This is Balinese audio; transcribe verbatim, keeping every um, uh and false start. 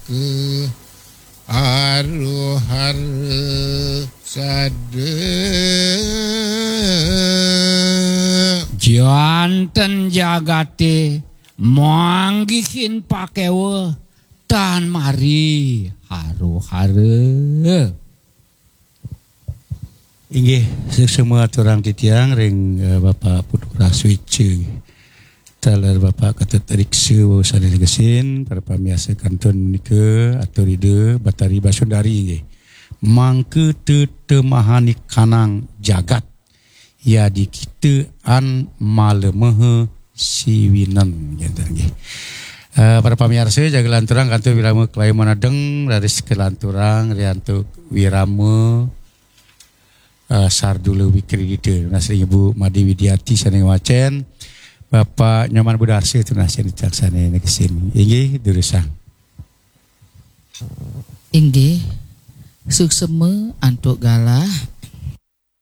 ke haru-haru sada. Janten jagate manggihin pakewa tan mari haru-haru. Inggih, suksma aturang titiang ring, eh, Bapak Putu Raswica. Taler Bapak Ketut Riksa sane negesin, para pamiarsa kantun menika, atur Ida Batari Basundari inggih. Mangka tetemahaning kanang jagat, yadi kita an malemaha siwinen, janten nggih. Eh, para pamiarsa, jaga lanturang kantun wirama kalima nedeng, raris kalanturang riantuk wirama, eh, Sardula Wikridita. Nunas ring Ibu Made Widiati sane ngwacen, Bapak Nyoman Budarsi tunas sane taksane negesin. Inggih, durusang. Inggih, suksma antuk galah